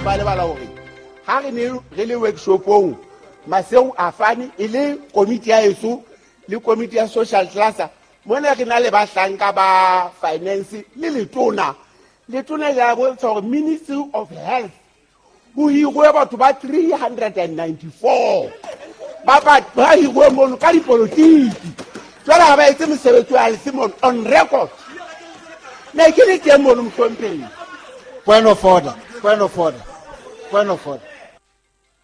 Ba lebala hore ha re ne re le workshopong Maseo a fane e le komiti ya eso le komiti ya social cluster mona re na le bahlanka ba finance le letona letona le a bontsha hore Ministry of Health ho hirwe batho ba 394 ba ba ba hirwe mono ka dipolotiki. Jwale ha ba etse mosebetsi wa lese mono on record. Ne ke le teng mono, mohlomphehi. Point of order. Point of order. Point of order.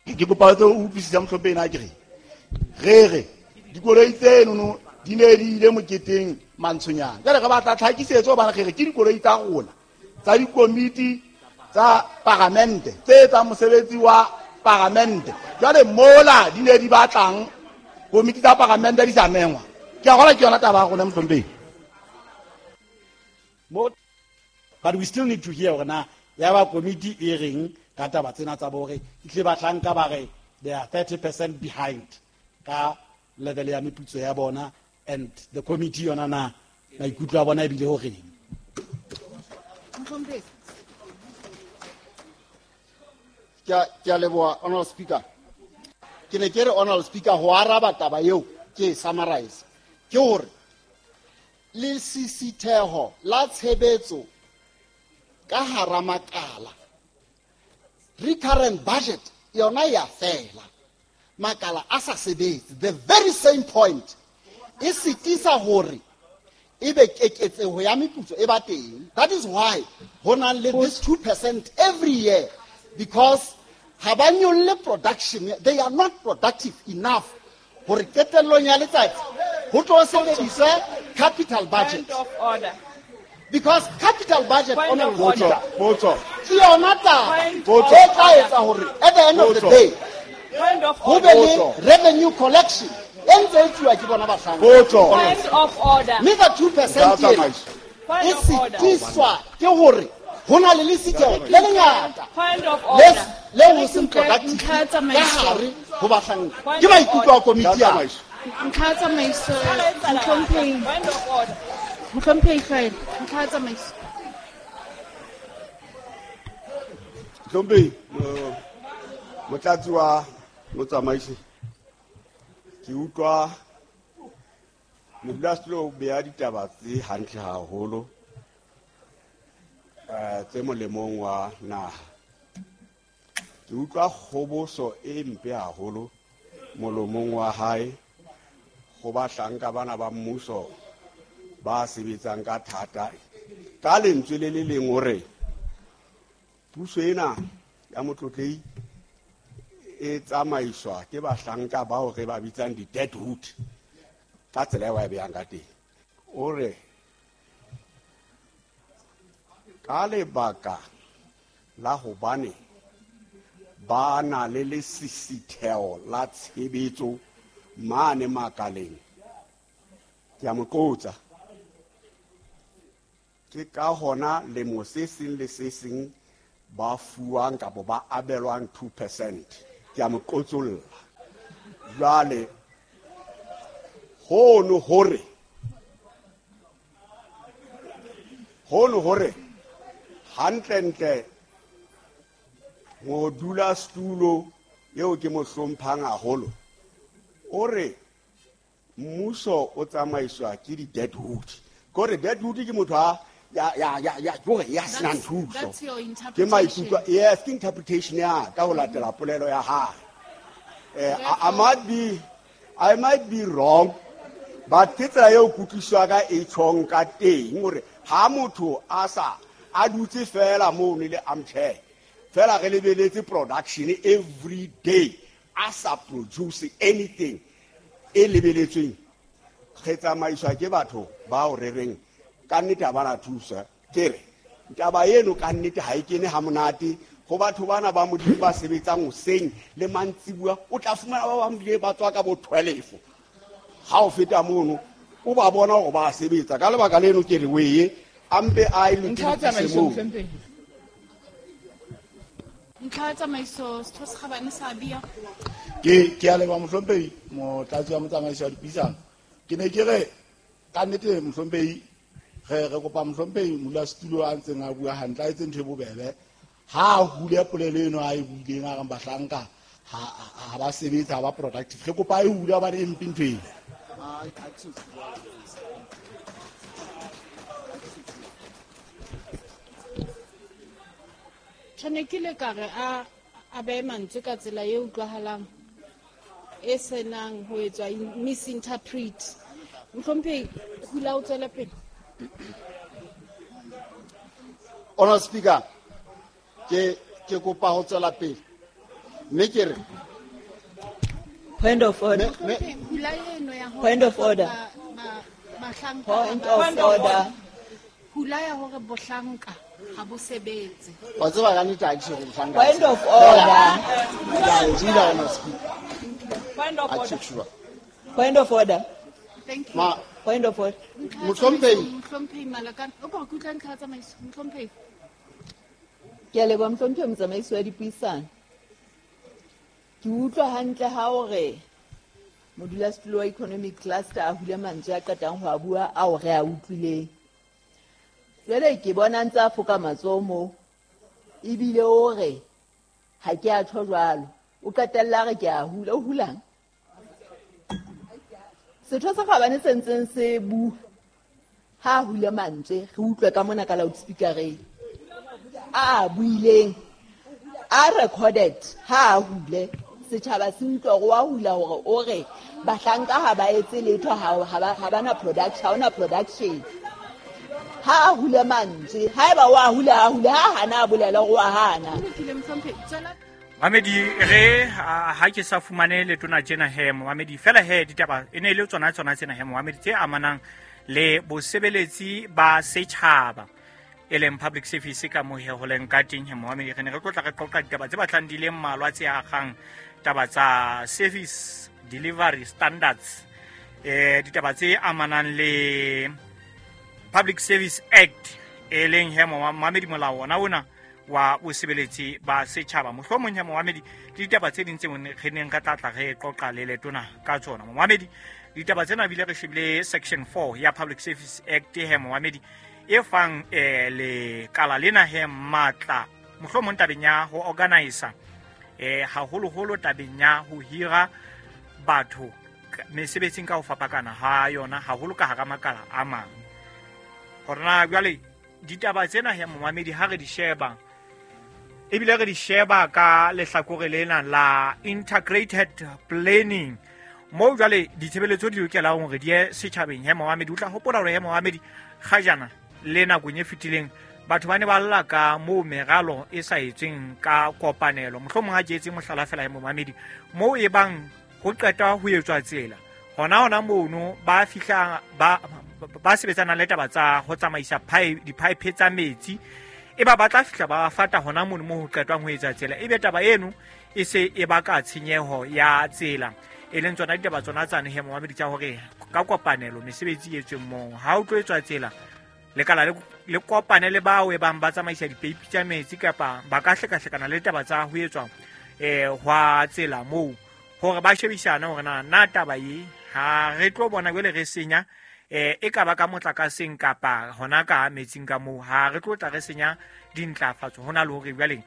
Ke kopa o utlwisisa, mohlomphehi, na ke re re re dikoloi tsenono di ne di ile moketeng mantshonyana. Jale re batla tlhakisetso hobane re re ke dikoloi tsa rona tsa dikomiti tsa paramente tse etsang mosebetsi wa paramente. Jwale mola di ne di batlang komiti tsa paramente di sa mengwa. Ke a gola ke yona taba ya rona, mohlomphehi. But we still need to hear hore na ya ba komiti e reng ka taba tsena tsa bore itle bahlanka ba re they are 30% behind ka level ya meputso ya bona, and the committee yona na maikutlo a bona ebile ho reng. Ke a leboha, Honorable Speaker. Ke ne ke re, Honorable Speaker, ho araba taba eo ke e summarize ke hore lesisitheho la tshebetso ka hara makala, recurrent budget yona ya fela, makala a sa sebetse. The very same point e sitisa hore ebe keketseho ya meputso e ba teng. That is why ho nang le this 2% every year, because ha ba nyolle production, they are not productive enough hore qetellong ya letsatsi ho tlo sebediswe capital budget. Point of order. Because capital budget, Point of Honorable order. Speaker, Potso. ke yona taba Point e of tla order. etsa hore at the end of the Potso. day Point of ho order. be le Potso. revenue collection e ntse e tsuwa ke bona bahlanka. Potso. Point of order. Mme ka 2% Ntlha ya ena tsamaiso. Point e of order. sitiswa ke hore ho na le lesiteo le lengata Point of le order. le ho seng productive Ntlha ya ka tsamaiso. hare ho bahlanka. Point Ke of maikutlo a order. komiti Ntlha ya ya. tsamaiso. Ntlha ya tsamaiso, mohlomphehi. Point of order. Mohlomphehi Hlwaelo, ntlha ya tsamaiso. Mohlomphehi, motlatsi wa motsamaisi, ke utlwa modulasetulo o beha ditaba tse hantle haholo, tse molemong wa naha. Ke utlwa kgoboso e mpe haholo molomong wa hae ho bahlanka bana ba mmuso ba sebetsang ka thata. Ka lentswe le le leng hore puso ena ya motlotlehi e tsamaiswa ke bahlanka bao re ba bitsang di-dead wood ka tsela eo a e behang ka teng. O re ka lebaka la hobane ba na le lesisitheho la tshebetso mane makaleng, ke a mo qotsa, ke ka hona lemo se seng le se seng ba fuwang kapa ba abelwang 2%. Ke a mo qotsolla. Jwale hono hore hantlentle modulasetulo eo ke mo hlomphang haholo o re mmuso o tsamaiswa ke di-dead wood. Ke hore dead wood ke motho a ya ya ya ya ke hore ya senang thuso. That's your Ke interpretation. maikutlo, yes, ke interpretation ya ka ho latela polelo ya hae. I might be wrong, but ke tsela eo kutlwisiso ya ka e tjhong ka teng hore ha motho a sa a dutse fela mono le armchair fela re lebeletse production every day a sa produce anything e lebeletsweng, re tsamaiswa ke batho bao re reng ka nnete ha ba na thuso. Ke re taba eno ka nnete ha e kene ha monate ho batho bana ba Modimo ba sebetsang hoseng le mantsibuya. O tla fumana ba bang bile ba tswa ka bo 12 ha o feta mono o ba bona hore ba sebetsa. Ka lebaka leno ke re weye a mpe a e Ntlha ya lokise tsamaiso, moo. mohlomphehi. Ntlha ya tsamaiso, setho se kgabane sa Abia. Ke a leboha, mohlomphehi motlatsi wa motsamaisi wa dipuisano. Ke ne ke re ka nnete, mohlomphehi, re kopa mohlomphehi modulasetulo a ntseng a bua hantle a etse ntho e bobebe. Ha a hule polelo eno a e buileng a reng bahlanka ha ba sebetse, ha ba productive. Re kopa e hule hobane e mpe ntho ena. Tjhane ke le ka re a behe mantswe ka tsela e utlwahalang e senang ho etswa misinterpret. Mohlomphehi, hula o tswele pele. Honorable Speaker, ke kopa ho tswela pele. Mme ke re Point of order. Mohlomphehi, hula eno ya hore Point of order. Bahlanka Point of order. Hula ya hore bohlanka ha bo sebetse. Wa tseba ka nnete ha ke so bohlanka. Point of order. Ke a e dula, Honorable Speaker. Point of Ha ke order. sure. Point of order. Thank you. Ma Point of order. Mohlomphehi. Mohlomphehi Malakane, o ka utlwa ntlha ya tsamaiso, Mohlomphehi. Ke a leboha Mohlomphehi motsamaisi wa dipuisano. Ke utlwa hantle ha o re modulasetulo wa economic cluster a hule mantswe a qetang ho a bua ao re a utlwileng. Jwale ke bona ntse a foka matsoho moo, ebile o re ha ke a tjho jwalo. O qetella re ke a hula, o hulang? Setho sa kgabane se ntseng se bua ha a hule mantswe, re utlwe ka mona ka loudspeakereng. A buileng, a recorded ha a hule. Setjhaba se utlwa hore wa hula hore o re bahlanka ha ba etse letho, ha ba na production, ha hona production. Ha a hule mantswe, haeba wa hula, a hule, ha hana a bolela hore wa hana. Lokile, Mohlomphehi, tswela. Mamedi, re ha ke sa fumane letona tjena he, Momamedi, fela he ditaba e ne e le tsona tsena he, Momamedi, tse amanang le bosebeletsi ba setjhaba e leng public service ka moo he ho leng ka teng he, Momamedi. Re ne re tlotla re qoqa ditaba tse batlang di le mmalwa tse akgang taba tsa service delivery standards, ditaba tse amanang le Public Service Act e leng he, Momamedi, molao ona ona wa bosebeletsi ba setjhaba. Mohlomong he, Momamedi, le ditaba tse ding tse re neng re tla tla re qoqa le letona ka tsona. Momamedi, ditaba tsena bile re shebile section 4 ya Public Service Act he, Momamedi, e fang lekala lena he matla mohlomong tabeng ya ho organizer, haholoholo tabeng ya ho hira batho mesebetsing ka ho fapakana ha yona, haholo ka hara makala a mang. Hore na jwale ditaba tsena he, Momamedi, ha re di sheba ebile re di sheba ka lehlakore lena la integrated planning, moo jwale ditshebeletso di lokelang hore di ye setjhabeng he, Momamedi. O tla hopola hore he, Momamedi, kgajana le nakong e fetileng batho ba ne ba lla ka moo meralo e sa etsweng ka kopanelo. Mohlomong ha ke etse mohlala fela he, Momamedi, moo e bang ho qeta ho etswa tsela hona mono ba fihla ba sebetsana le taba tsa ho tsamaisa di-pipe tsa metsi, e ba tla fihla ba fata hona mono moo ho qetwang ho etsa tsela, ebe taba eno e se e baka tshenyeho ya tsela. E leng tsona ditaba tsona tsane he, Momamedi, tsa hore ka kopanelo mesebetsi e etsweng moo. Ha o tlo etswa tsela, lekala le kopane le bao e bang ba tsamaisa dipeipi tsa metsi kapa ba ka hlekahlekana le taba tsa ho etswa hwa tsela moo, hore ba shebisane hore na taba e ha re tlo bona jwale re senya e ka ba ka motlakaseng kapa hona ka metsing ka moo, ha re tlo tla re senya dintlafatso hona le hore jwale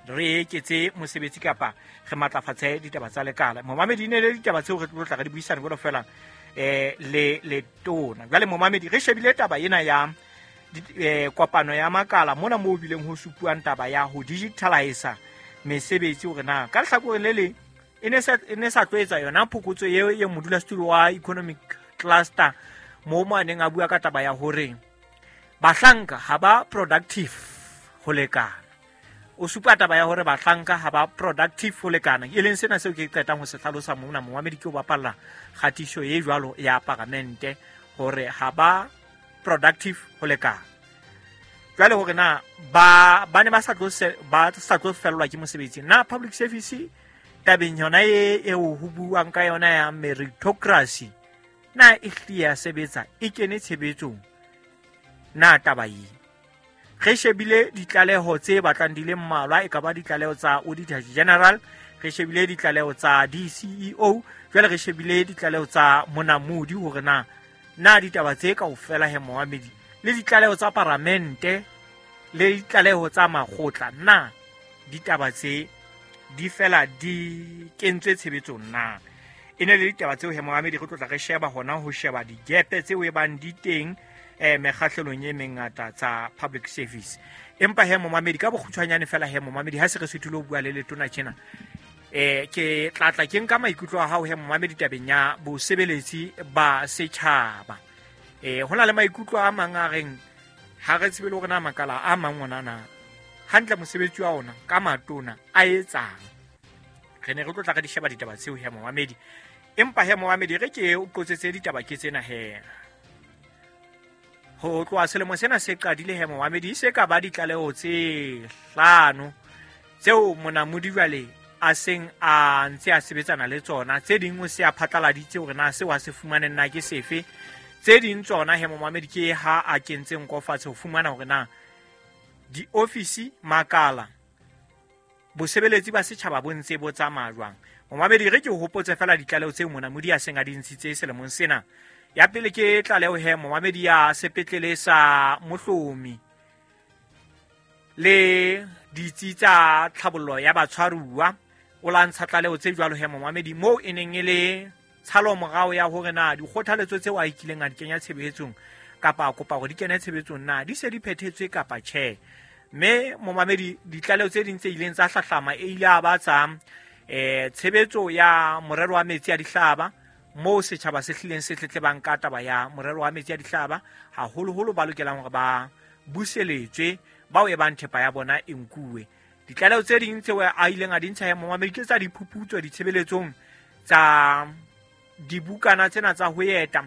re eketse mosebetsi kapa re matlafatse ditaba tsa lekala. Momamedi, e ne le ditaba tseo re tlo tla re di buisane jwalo fela le letona. Jwale Momamedi, re shebile taba ena ya kopano ya makala mona moo bileng ho supuang taba ya ho digitalize mesebetsi, hore na ka lehlakoreng le leng e ne sa tlo etsa yona phokotso eo e modulasetulo wa economic cluster moo mo a neng a bua ka taba ya hore bahlanka ha ba productive ho lekana. O supa taba ya hore bahlanka ha ba productive ho lekana, e leng sena seo ke qetang ho se hlalosa mona, Momamedi, ke ho bapalla kgatiso e jwalo ya paramente hore ha ba productive ho lekana. Jwale hore na ba ne ba sa tlo fellwa ke mosebetsi, na public service tabeng yona eo ho buang ka yona ya meritocracy na e hlile ya sebetsa, e kene tshebetsong na taba e? Re shebile ditlaleho tse batlang di le mmalwa, e ka ba ditlaleho tsa Auditor General, re shebile ditlaleho tsa DCEO, jwale re shebile ditlaleho tsa Monamodi hore na ditaba tse kaofela he, Momamedi, le ditlaleho tsa paramente Le ditlaleho tsa makgotla, na ditaba tse di fela di kentswe tshebetsong na? E ne le ditaba tseo he momamedi re tlotla re sheba hona ho sheba digepe tseo e bang di teng mekgahlelong e mengata tsa public service. Empa he momamedi ka bokgutshwanyane fela he momamedi ha se re suthile ho bua le letona tjena, ke tlatla ke nka maikutlo a hao he momamedi tabeng ya bosebeletsi ba setjhaba. Ho na le maikutlo a mang a reng ha re tsebe le hore na makala a mang ona na hantle mosebetsi wa ona ka matona a etsang. Re ne re tlotla re di sheba ditaba tseo he momamedi. Empa he momamedi re ke o qotsetse ditaba ke tsena he. Ho tloha selemo sena se qadile he momamedi se ka ba ditlaleho tse 5 tseo monamodi jwale a seng a ntse a sebetsana le tsona. Tse ding o se a phatlaladitse hore na seo a se fumaneng na ke sefe. Tse ding tsona he momamedi ke ha a kentseng nko fatshe ho fumana hore na diofisi makala bosebeletsi ba setjhaba bo ntse bo tsamaya jwang. Momamedi re ke o hopotse fela ditlaleho tseo monamodi a seng a di ntshitse selemong sena. Ya pele ke tlaleho he momamedi ya sepetlele sa Mohlomi le ditsi tsa tlhabollo ya batshwaruwa. O la ntsha tlaleho tse jwalo he momamedi moo e neng e le tshalomorao ya hore na dikgothaletso tseo a ikileng a di kenya tshebetsong kapa a kopa hore di kene tshebetsong na di se di phethetswe kapa tjhe. Mme momamedi ditlaleho tse ding tse ileng tsa hlahlama e ile a ba tsa tshebetso ya morero wa metsi a dihlaba, moo setjhaba se hlileng se tletlebang ka taba ya morero wa metsi a dihlaba, haholoholo ba lokelang hore ba buseletswe bao e bang thepa ya bona e nkuwe. Ditlaleho tse ding tseo a ileng a di ntsha momamedi ke tsa diphuputso ditshebeletsong tsa dibukana tsena tsa ho eta,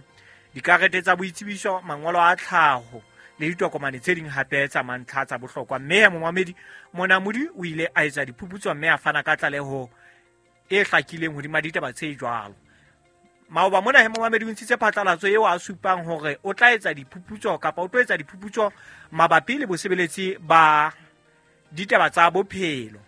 dikarete tsa boitsebiso, mangolo a tlhaho le ditokomane tse ding hape tsa mantlha tsa bohlokwa. Mme momamedi monamodi o ile a etsa diphuputso mme a fana ka tlaleho e hlakileng hodima ditaba tse jwalo. Maoba mona he momamedi o ntshitse phatlalatso eo a supang hore o tla etsa diphuputso kapa o tlo etsa diphuputso mabapi le bosebeletsi ba ditaba tsa bophelo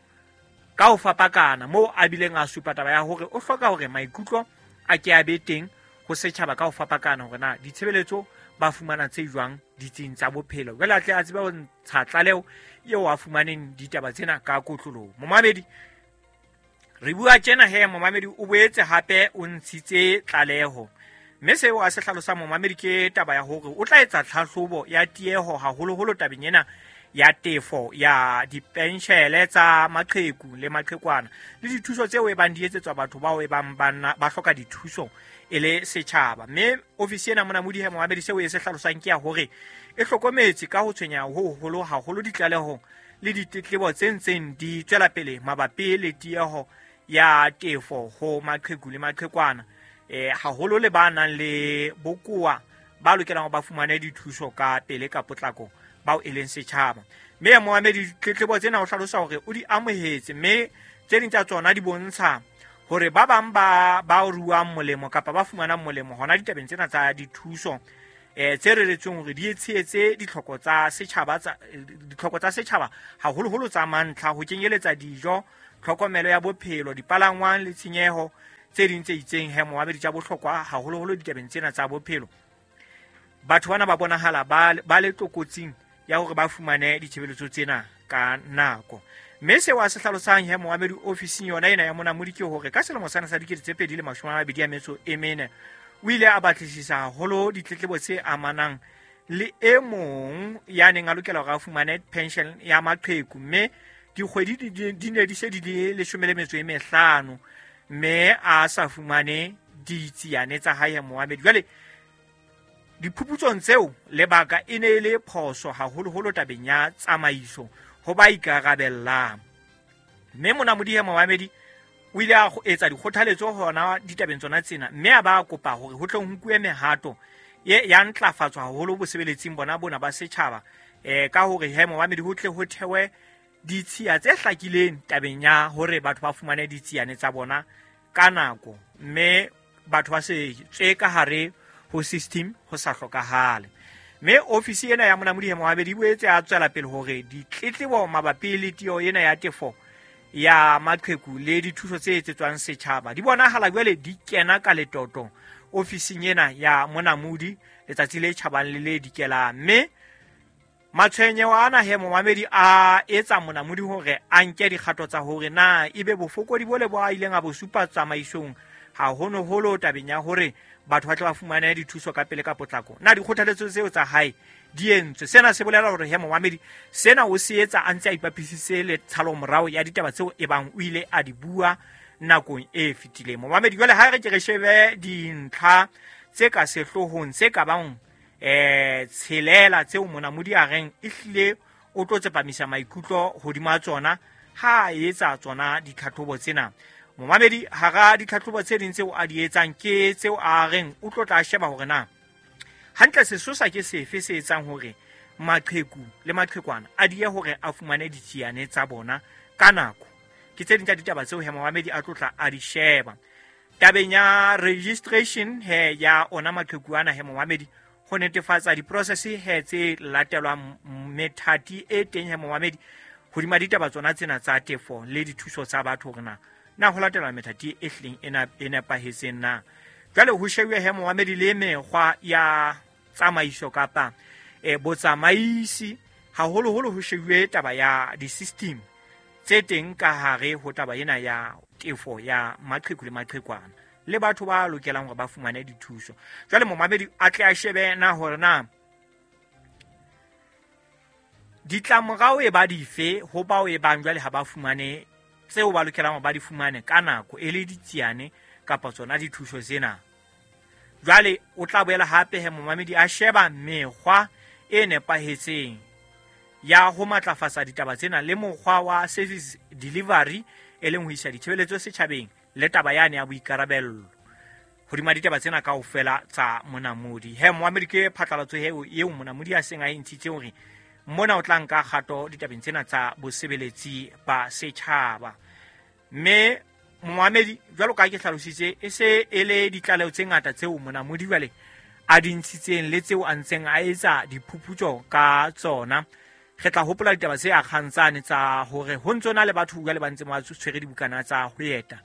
ka ho fapakana, moo a bileng a supa taba ya hore o hloka hore maikutlo a ke a be teng ho setjhaba ka ho fapakana hore na ditshebeletso ba fumana tse jwang ditsing tsa bophelo. Jwale a tle a tsebe ho ntsha tlaleho eo a fumaneng ditaba tsena ka kotloloho. Momamedi re bua tjena he momamedi o boetse hape o ntshitse tlaleho, mme seo a se hlalosang momamedi ke taba ya hore o tla etsa tlhahlobo ya tieho haholoholo tabeng ena ya tefo ya dipenshele tsa maqheku le maqhekwana le dithuso tseo e bang di etsetswa batho bao e bang ba hloka dithuso e le setjhaba. Mme ofisi ena monamodi he momamedi seo e se hlalosang ke ya hore e hlokometse ka ho tshwenya ho hoholo haholo ditlaleho le ditletlebo tse ntseng di tswela pele mabapi le tieho ya tefo ho maqheku le maqhekwana, haholo le ba nang le bokowa ba lokelang ba fumane dithuso ka pele ka potlako bao e leng setjhaba. Mme momamedi ditletlebo tsena o hlalosa hore o di amohetse, mme tse ding tsa tsona di bontsha hore ba bang ba ruang molemo kapa ba fumanang molemo hona ditabeng tsena tsa dithuso tse reretsweng hore di tshehetse ditlhoko tsa setjhaba ditlhoko tsa setjhaba haholoholo tsa mantlha, ho kenyeletsa dijo, tlhokomelo ya bophelo, dipalangwang le tshenyeho tse ding tse itseng he momamedi tsa bohlokwa haholoholo ditabeng tsena tsa bophelo. Batho bana ba bonahala ba le tlokotsing ya hore ba fumane ditshebeletso tsena ka nako. Mme seo a se hlalosang he momamedi ofising yona ena ya monamodi ke hore ka selemo sena sa 2024 o ile a batlisisa haholo ditletlebo tse amanang le e mong ya neng a lokela hore a fumane pension ya maqheku, mme dikgwedi di ne di se di le 15 mme a sa fumane ditsiane tsa hae momamedi. Jwale diphuputsong tseo lebaka e ne e le phoso haholoholo tabeng ya tsamaiso ho ba ikarabellang. Mme monamodi he momamedi o ile a etsa dikgothaletso hona ditabeng tsona tsena, mme a ba kopa hore ho tle ho nkuwe mehato ya ntlafatso haholo bosebeletsing bona bona ba setjhaba, ka hore he momamedi ho tle ho thewe ditshiya tse hlakileng tabeng ya hore batho ba fumane ditsiane tsa bona ka nako, mme batho ba se tswe ka hare ho system ho sa hlokahale. Mme ofisi ena ya monamodi he momamedi e boetse a tswela pele hore ditletlebo mabapi le tieho ena ya tefo ya maqheku le dithuso tse etsetswang setjhaba di bonahala jwale di kena ka letoto ofising ena ya monamodi letsatsi le tjhabang le le dikelang. Mme Matshwenyeho ana he momamedi a etsa Monamodi hore a nke dikgato tsa hore na ebe bofokodi bole bo a ileng a bo supa tsamaisong haholoholo tabeng ya hore batho ba tle ba fumane dithuso ka pele ka potlako, na dikgothaletso tseo tsa hae di entswe. Sena se bolela hore he momamedi sena o se etsa a ntse a ipapisitse le tshalomorao ya ditaba tseo ebang o ile a di bua nakong e fetileng. Momamedi, jwale ha re ke re shebe dintlha tse ka sehloohong tse ka bang tshelela tseo Monamodi a reng ehlile o tlo tsepamisa maikutlo hodima tsona ha a etsa tsona ditlhatlhobo tsena. Momamedi, hara ditlhatlhobo tse ding tseo a di etsang ke tseo a reng o tlo tla sheba hore na hantle sesosa ke sefe se etsang hore maqheku le maqhekwana a die hore a fumane ditsiane tsa bona ka nako. Ke tse ding tsa ditaba tseo he momamedi a tlo tla a di sheba. Tabeng ya registration he ya ona maqheku ana he momamedi, ho netefatsa diprocess he tse latelwang methati e teng he momamedi hodima ditaba tsona tsena tsa tefo le dithuso tsa batho hore na ho latelwa methati e hlileng e nepahetseng na. Jwale ho shebuwe he momamedi le mekgwa ya tsamaiso kapa botsamaisi, haholoholo ho shebuwe taba ya di-system tse teng ka hare ho taba ena ya tefo ya maqheku le maqhekwana le batho ba lokelang hore ba fumane dithuso. Jwale momamedi a tle a shebe na hore na ditlamorao e ba dife ho bao e bang jwale ha ba fumane tseo ba lokelang hore ba di fumane ka nako, e le ditsiane kapa tsona dithuso tsena. Jwale o tla boela hape he momamedi a sheba mekgwa e nepahetseng ya ho matlafatsa ditaba tsena le mokgwa wa service delivery, e leng ho isa ditshebeletso setjhabeng le taba yane ya boikarabello hodima ditaba tsena kaofela tsa Monamodi. He momamedi, ke phatlalatso eo Monamodi a seng a e ntshitse hore mona o tla nka kgato ditabeng tsena tsa bosebeletsi ba setjhaba. Mme momamedi, jwalo ka ke hlalositse, e se e le ditlaleho tse ngata tseo Monamodi jwale a di ntshitseng le tseo a ntseng a etsa diphuputso ka tsona. Re tla hopola ditaba tse akgang tsane tsa hore ho ntso na le batho jwale ba ntseng ba tshwere dibukana tsa ho eta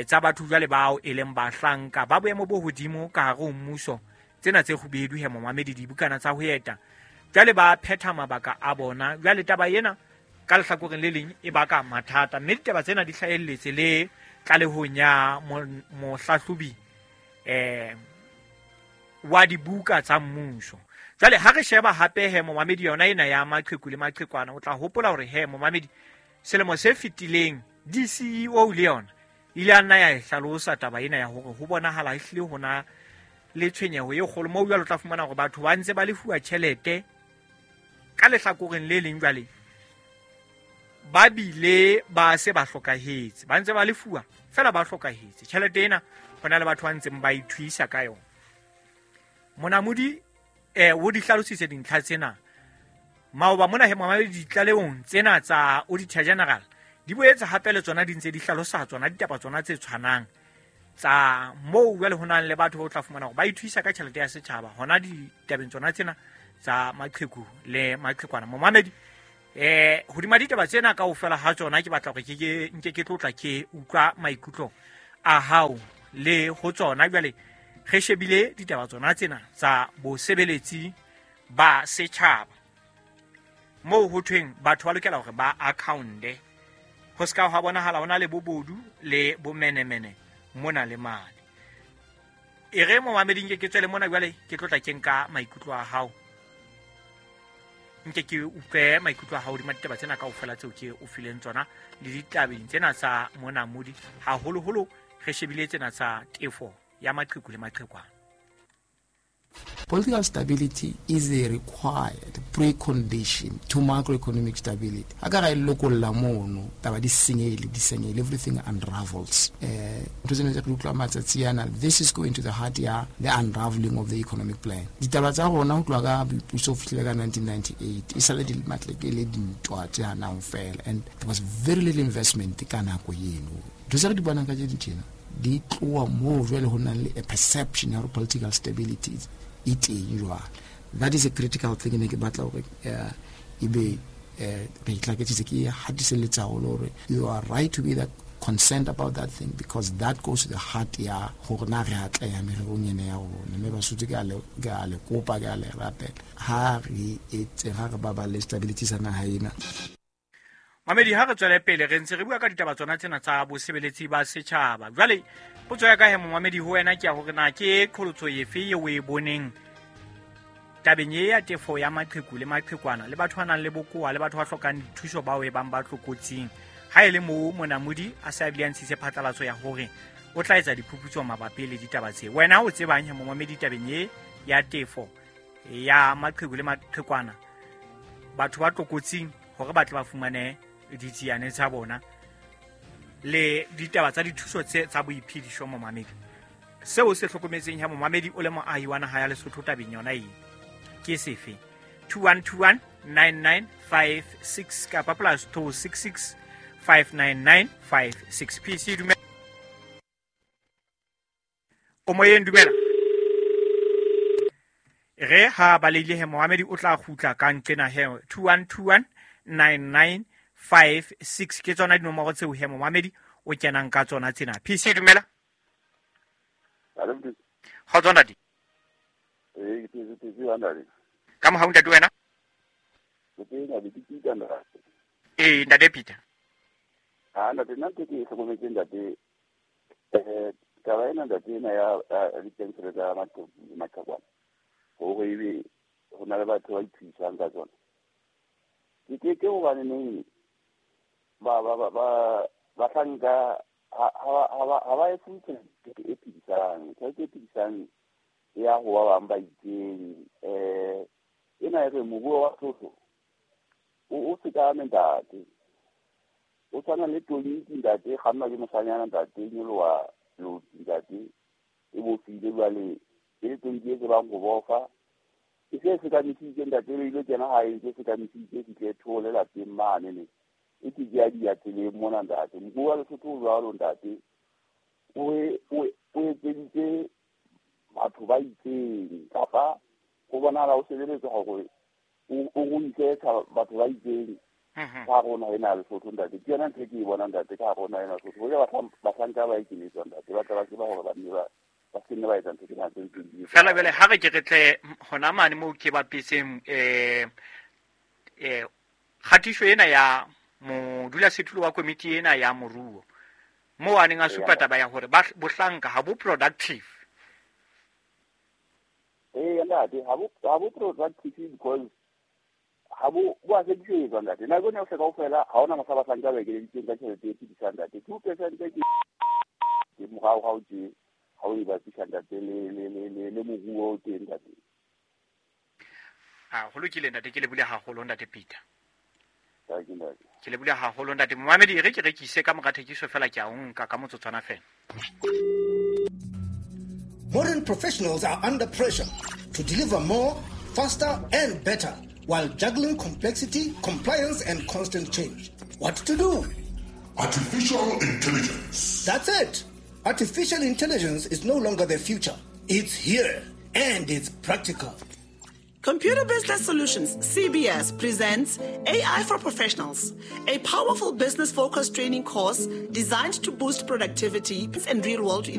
tsa batho jwale bao e leng bahlanka ba boemo bo hodimo ka hare ho mmuso, tsena tse kgubedu he momamedi, dibukana tsa ho eta jwale ba phetha mabaka a bona. Jwale taba ena ka lehlakoreng le leng e baka mathata, mme ditaba tsena di hlahelletse le tlalehong ya mohlahlobi wa dibuka tsa mmuso. Jwale ha re sheba hape he momamedi yona ena ya maqheku le maqhekwana, o tla hopola hore he momamedi selemo se fetileng DCEO le yona ile a nna ya e hlalosa taba ena ya hore ho bonahala ehlile hona le tshwenyeho e kgolo moo jwale o tla fumana hore batho ba ntse ba lefuwa tjhelete ka lehlakoreng le leng jwale ba bile ba se ba hlokahetse, ba ntse ba lefuwa fela ba hlokahetse. Tjhelete ena hona le batho ba ntseng ba ithuisa ka yona. Monamodi o di hlalositse dintlha tsena maoba mona he momamedi ditlalehong tsena tsa Auditor General di boetse hape le tsona di ntse di hlalosa tsona ditaba tsona tse tshwanang tsa moo jwale ho nang le batho ba o tla fumana hore ba ithuisa ka tjhelete ya setjhaba hona ditabeng tsona tsena tsa maqheku le maqhekwana. Momamedi hodima ditaba tsena kaofela ha tsona ke batla hore ke nke ke tlotla ke utlwa maikutlo a hao le ho tsona. Jwale re shebile ditaba tsona tsena tsa bosebeletsi ba setjhaba moo ho thweng batho ba lokela hore ba accounte, ho ska hwa bonahala hona le bobodu le bomenemene mona le mane. E re momamedi nke ke tswele mona jwale ke tlotla ke nka maikutlo a hao, nke ke utlwe maikutlo a hao hodima ditaba tsena kaofela tseo ke o fileng tsona le ditabeng tsena tsa Monamodi, haholoholo re shebile tsena tsa tefo ya maqheku le maqhekwana. Political stability is a required precondition to macroeconomic stability. Ha ka ra e lokolla mono, taba di senyehile, everything unravels. Ntho tsena tse re utlwa matsatsi ana, this is going to the heart ya the unraveling of the economic plan. Ditaba tsa rona ho tloha ka boipuso ho fihlela ka 1998 e sale di matleke le dintwa tse hanang fela, and there was very little investment ka nako eno. Ntho tse re di bonang ka tse tjena di tloha moo jwale ho nang le a perception ya hore political stability e teng jwale. That is a critical thing ne ke batla hore ebe re itlaketsitse ke hatiselletsa haholo hore you are right to be that concerned about that thing because that goes to the heart ya gore na re atleha mererong ena ya rona. Mme Basotho ke a le kopa, ke a le rapela, ha re etse, ha re baballe stability sa naha ena. Mamedi, ha re tswele pele re ntse re bua ka ditaba tsona tsena tsa bosebeletsi ba setjhaba. Jwale potso ya ka he momamedi ho wena ke ya hore na ke qholotso efe eo o e boneng tabeng e ya tefo ya maqheku le maqhekwana le batho ba nang le bokowa le batho ba hlokang dithuso bao e bang ba tlokotsing. Ha e le moo monamodi a se a bile a ntshitse phatlalatso ya hore o tla etsa diphuputso mabapi le ditaba tse. Wena o tsebang he momamedi tabeng e ya tefo ya maqheku le maqhekwana, batho ba tlokotsing hore ba tle ba fumane ditsiane tsa bona le ditaba tsa dithuso tse tsa boiphediso momamedi. Seo se hlokometseng ha momamedi o le moahi wa naha ya Lesotho tabeng yona e ke sefe? 2121 9956 kapa plus 266 59956. PC dumela. O moyeng, dumela. Re ha baleile he momamedi o tla kgutla ka nqena he 2121 9956 ke tsona dinomoro tseo he momamedi o kenang ka tsona tsena. PC dumela. Kgotso ntate. Ka mohau ntate wena? Ee, ntate Peter. Ha ntate, nna ntho ke e hlokometseng ntate, taba ena ntate ena ya dipensele tsa maqhekwana, hore ebe ho na le batho ba ithusang ka tsona. Ke hobane neng bahlanka ha ba e fuwe tjhelete e phedisang, tjhelete e phedisang ya ho ba bang ba itseng. Ena e re moruo wa Lesotho o sekame ntate, o tshwana le tonki ntate, e kgannwa ke moshanyana ntate, e nyoloha loti ntate, e bofile jwale e le tonki e tsebang ho bofa. E se sekamisitse ntate, e ile kena hae ntse sekamisitse, fihle thole lapeng mane ne e ke ya dia tseleng mona ntate. Moruo wa Lesotho o jwalo ntate, o etseditse batho ba itseng, kapa ho bonahala o sebeletswa hore o ruise batho ba itseng ka hare ho naha ena ya Lesotho ntate. Ke yona ntho e ke e bonang ntate ka hare ho naha ena ya Lesotho. Hoja bahlanka ba ekeletswa ntate, ba tla ba tseba hore ba nne ba se nne ba etsa ntho tsena tse ntseng di etsa. Fela jwale ha re ke re tle hona mane moo ke bapetseng kgatiso ena ya modulasetulo wa komiti ena ya moruo, moo a neng a supa taba ya hore bohlanka ha bo productive. Ee ntate, ha bo productive because ha bo a sebedisetswa ntate. Nako ena yohle kaofela ha hona mohla bahlanka ba ekeleditsweng ka tjhelete e phedisang ntate. 2% ke morao ha o tje, ha o e bapisa ntate le moruo o teng ntate. Ho lokile ntate, ke lebohile haholo ntate Peter. Ke lebohile haholo ntate. Momamedi, re ke rekise ka mora thekiso fela, ke a o nka ka motsotswana fela. Modern professionals are under pressure to deliver more, faster and better while juggling complexity, compliance and constant change. What to do? Artificial intelligence. That's it. Artificial intelligence is no longer the future. It's here and it's practical. Computer Business Solutions, CBS, presents AI for Professionals, a powerful business-focused training course designed to boost productivity and real-world